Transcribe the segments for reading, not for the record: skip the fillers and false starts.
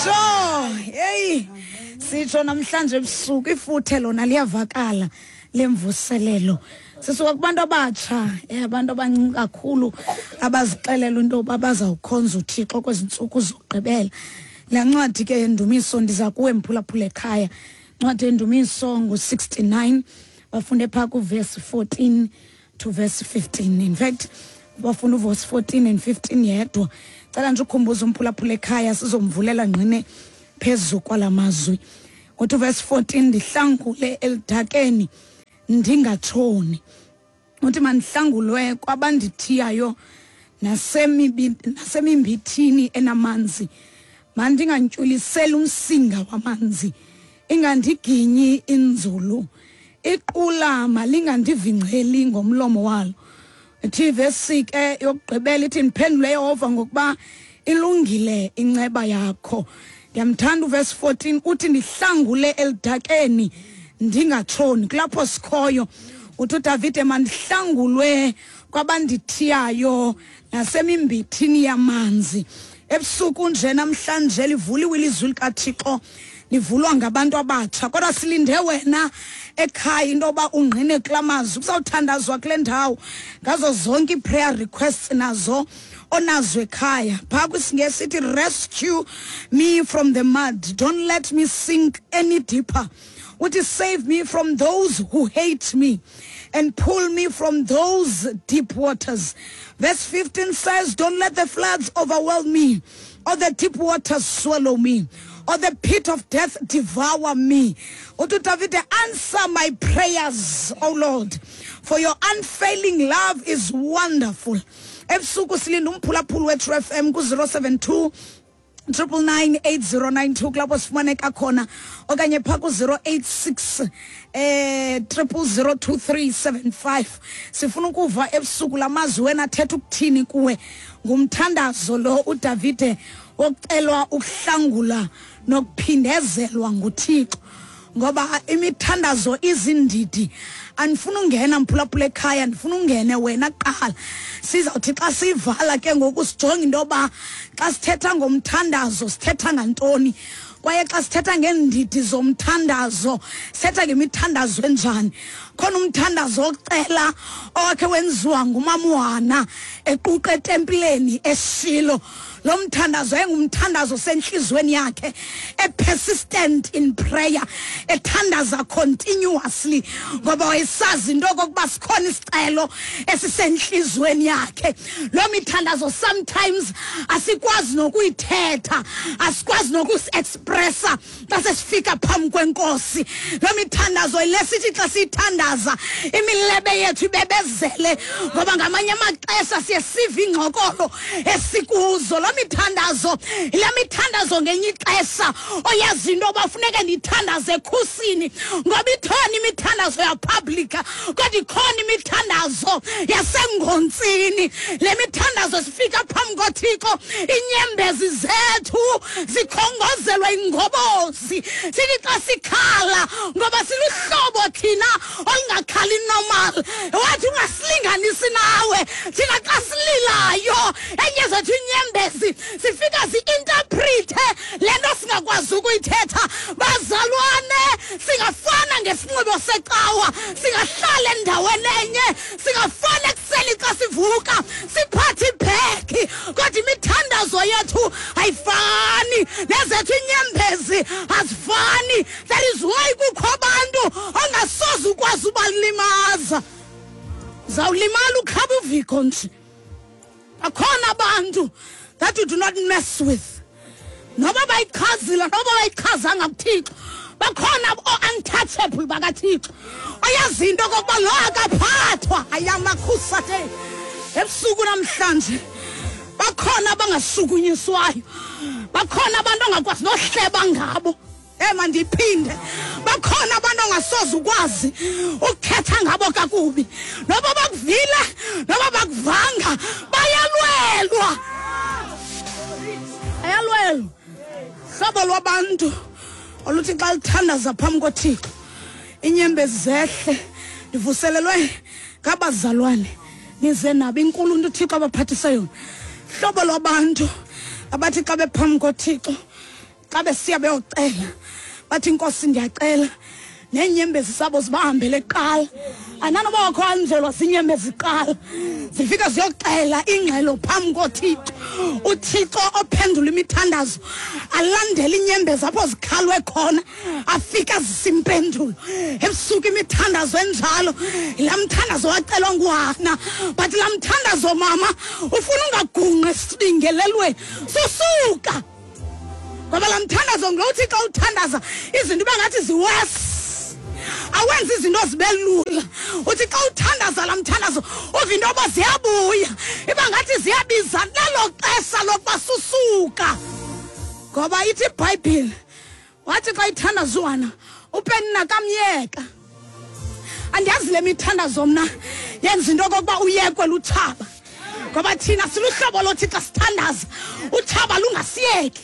Sure. Hey. Sitsho namhlanje ebusuku ifuthe lona liyavakala lemvuselelo. Sisuka kubantu abatsha, abantu abancinci kakhulu abazixelela into yoba bazawukhonza uThixo kwezi ntsuku zokugqibela. Laa ncwadi ke yendumiso ndiza kuwe mphulaphula ekhaya. Ncwadi yendumiso ngu-69 bafunde phaa kuvesi 14 to verse 15. In fact, bafuna uvesi 14 and 15 yedwa. Cela nje ukhumbuza umphulaphula ekhaya sizomvulela ngqine phezu kwala mazwi. Uthi uvesi 14 ndihlangule eludakeni ndingatshoni. Uthi mandihlangulwe kwabandithiyayo nasemimbithini enamanzi. Mandingantyuliseli umsinga wamanzi, ingandiginyi inzulu. Iqula malingandivingceli ngomlomo walo. Ithi ivesi ke yokugqibela ithi ndiphendule Yehova ngokuba ilungile inceba yakho. Ndiyamthanda uvesi 14 uthi ndihlangule eludakeni ndingatshoni. Kulapho sikhoyo. Uthi uDavide mandihlangulwe kwabandithiyayo nasemimbithini yamanzi. Ebusuku nje namhlanje livuliwe ilizwi likaThixo, livulwa ngabantu abatsha, kodwa silinde wena ekhaya into yoba ungqine kula mazwi. Kuzawuthandazwa kule ndawo ngazo zonke ii-prayer requests nazo onazo ekhaya. Phaa kwisiNgesi ithi rescue me from the mud, don't let me sink any deeper. Uthi save me from those who hate me and pull me from those deep waters. Verse 15 says, don't let the floods overwhelm me, or the deep waters swallow me, or the pit of death devour me. Uthi uDavide, answer my prayers, O Lord, for your unfailing love is wonderful. Ebusuku silinda umphulaphuli wethu FM ku-072 999 8092 kulapho sifumaneka khona, okanye phaa ku-086 0002375. Sifuna ukuva ebusuku la mazwi wena athetha ukuthini kuwe. Ngumthandazo lo uDavide wokucelwa ukuhlangula nokuphindezelwa nguThixo, ngoba imithandazo izindidi. Andifuna ungena mphulaphula ekhaya, ndifuna ungene wena kuqala. Sizawuthi xa sivala ke ngoku sijonge into yoba xa sithetha ngomthandazo sithetha ngantoni, kwaye xa sithetha ngeendidi zomthandazo sithetha ngemithandazo enjani. Khona umthandazo wokucela owakhe wenziwa nguMamuhana equqa etempileni eShilo. Lo mthandazo engumthandazo sentliziyweni yakhe, e-persistent in prayer, ethandaza continuously, ngoba wayesazi into okokuba sikhona isicelo esisentliziyweni yakhe. Lo mithandazo sometimes asikwazi nokuyithetha, asikwazi nokusi-expressa xa sesifika phambi kwenkosi. Lo mithandazo yile sithi xa siyithandaza imilebe yethu ibebezele, ngoba ngamanye amaxesha siye sive ingxokolo esikuzo. Lo mithandazo, le mithandazo ngenye ixesha oyazi into yoba funeke ndithandaze ekhusini, ngoba ikhona imithandazo yapublic, kodwa ikhona imithandazo yasengontsini. Le mithandazo sifika phambi koThixo, inyembezi zethu zikhongozelwa ingobozi. Sithi xa sikhala, ngoba siluhlobo thina olungakhali normal, wathi ungasilinganisi nawe. Thina xa sililayo enye zethu inyembezi sifika si-interprete le nto singakwazi ukuyithetha. Bazalwane, singafana ngesinxibo secawa, singahlala endaweni enye, singafana ekuseni xa sivuka siphathe ibhegi, kodwa imithandazo yethu ayifani, nezethu inyembezi azifani. That is why kukho abantu ongasoze ukwazi ubalimaza. Zawulimala ukhaba uviko nje. Bakhona abantu that you do not mess with. Noba bayichazile, noba bayichazanga kuThixo, bakhona o-untouchable bakaThixo. Oyazi into okokuba lo akaphathwa, ayamakhusate. Ebusuku namhlanje bakhona abangasukunyiswayo, bakhona abantu ongakwazi nohleba ngabo. Mandiphinde, bakhona abantu ongasoze ukwazi ukuthetha ngabo kakubi, noba bakuvile noba bakuvanga, bayalwelwa, bayalwelwa. Hlobo lwabantu oluthi xa lithandaza phambi koThixo inyembezi zehle. Ndivuselelwe ngabazalwane, nize nabo inkulu into uThixo abaphathise yona. Hlobo lwabantu abathi xa bephambi koThixo Xa besiya beyocela bathi, Inkosi, ndiyacela, neenyembezi zabo zibahambele kuqala. Andanoba wakho anjelwa ziinyembezi kuqala, zifika ziyoxela ingxelo phambi koThixo. UThixo ophendula imithandazo alandele iinyembezi apho zikhalwe khona, afika azisa impendulo ebusuku. Imithandazo enjalo yilaa mthandazo wacelwa nguHana. But laa mthandazo, mama, ufuna ungagunqi esibingelelweni, susuka, ngoba laa mthandazo ngulo uthi xa uthandaza izinto ibe ngathi ziwesi, awenza izinto zibe lula. Uthi xa uthandaza laa mthandazo, uva into yoba ziyabuya, iba ngathi ziyabiza. Lelo xesha lokuba susuka, ngoba ithi iBhayibhile, wathi xa ithandaza uHana, uPenina kamyeka. Andiyazi le mithandazo mna yenza into okokuba uyekwe lutshaba, ngoba thina siluhlobo lothi xa sithandaza utshaba lungasiyeki,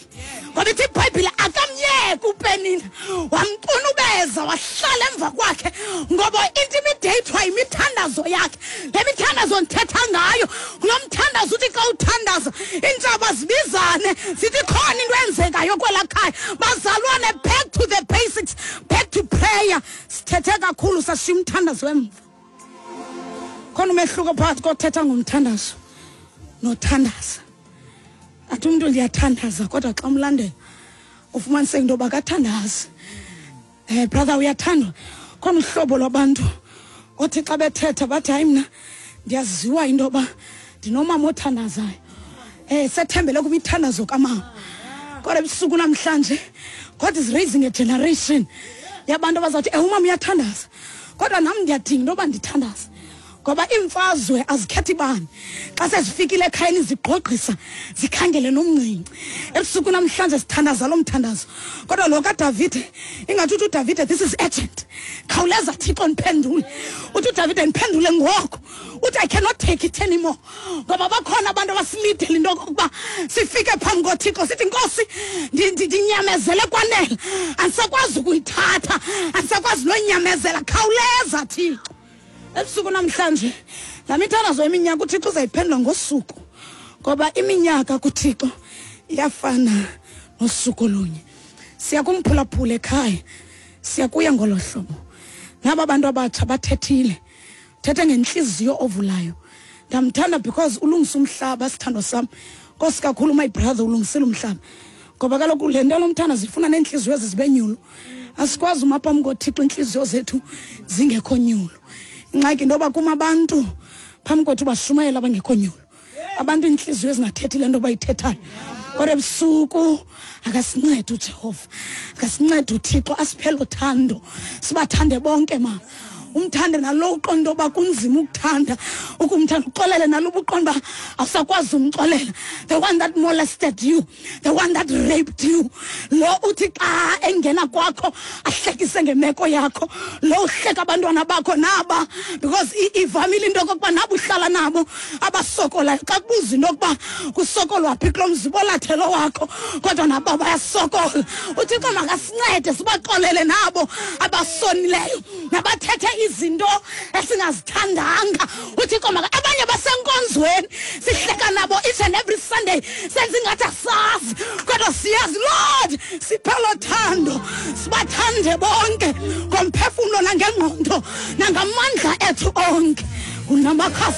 ngoba ithi iBhayibhile akamyeka uPenina, wamcunubeza, wahlala emva kwakhe, ngoba intimidatwa yimithandazo yakhe. Le mithandazo ndithetha ngayo ngulo mthandazo uthi xa uthandaza iintshaba zibizane, zithi khona into eyenzekayo kwelaa khaya. Bazalwane, back to the basics, back to prayer. Sithethe kakhulu, sashiya umthandazo emva. Khona umehluko phakathi kothetha ngomthandazo nothandaza. Athi umntu ndiyathandaza, kodwa xa umlandela ufumaniseke into yoba kathandazi. Brother, uyathandwa. Khona uhlobo lwabantu othi xa bethetha bathi, hayi, mna ndiyaziwa into yoba ndinomama othandazayo, sethembele kwimithandazo kamama. Kodwa ebusuku namhlanje, God is raising a generation yabantu abazawuthi, umama uyathandaza, kodwa nam ndiyadinga into yoba ndithandaze, ngoba iimfazwe azikhethi bani. Xa sezifikile ekhayeni zigqogqisa, zikhangele nomncinci. Ebusuku namhlanje sithandaza lo mthandazo, kodwa lo kaDavide, ingathi uthi uDavide, this is urgent, khawuleza Thixo, ndiphendule. Uthi uDavide, ndiphendule ngoko. Uthi, I cannot take it anymore, ngoba bakhona abantu abasilidele into okokuba sifike phambi koThixo sithi, Nkosi, ndinyamezele kwanele, andisakwazi ukuyithatha, andisakwazi nonyamezela, khawuleza Thixo. Ebusuku namhlanje laa mithandazo yeminyaka uThixo uzayiphendula ngosuku, ngoba iminyaka kuThixo iyafana nosuku olunye. Siya kumphulaphula ekhaya, siyakuya ngolo hlobo. Naba bantu abatsha bathethile, thethe ngentliziyo ovulayo. Ndamthanda because ulungisa umhlaba, sithandwa sam. Nkosi kakhulu, my brother, ulungisile umhlaba, ngoba kaloku le nto lomthandazo ifuna neentliziyo ezi zibe nyulu. Asikwazi uma phambi koThixo iintliziyo zethu zingekho nyulu. Ingxaki into yoba kuma abantu phambi kwethu bashumayela abangekho nyulu, abantu iintliziyo ezingathethi le nto bayithethayo. Kodwa ebusuku akasincede uJehova, akasincede uThixo, asiphele uthando, sibathande bonke, mama. Umthande nalo uqonda uba kunzima ukuthanda, ukumthanda, uxolele nalo ubuqonda uba awusakwazi umxolela, the one that molested you, the one that raped you, lo uthi xa engena kwakho ahlekise ngemeko yakho, lo uhleka abantwana bakho naba, because ivamile into yokokuba nabo uhlala nabo abasokolayo, xa kubuza into yokuba kusokolwa phi kulo mzi, bolathelo wakho, kodwa nabo bayasokola. UThixo makasincede sibaxolele nabo abasonileyo nabathethe izinto esingazithandanga. UThixo maka abanye basenkonzweni sihleka nabo each and every Sunday, senze ingathi asazi, kodwa siyazi. Lord, siphelo thando, sibathande bonke ngomphefumlo nangengqondo nangamandla ethu onke. Unamakhasi.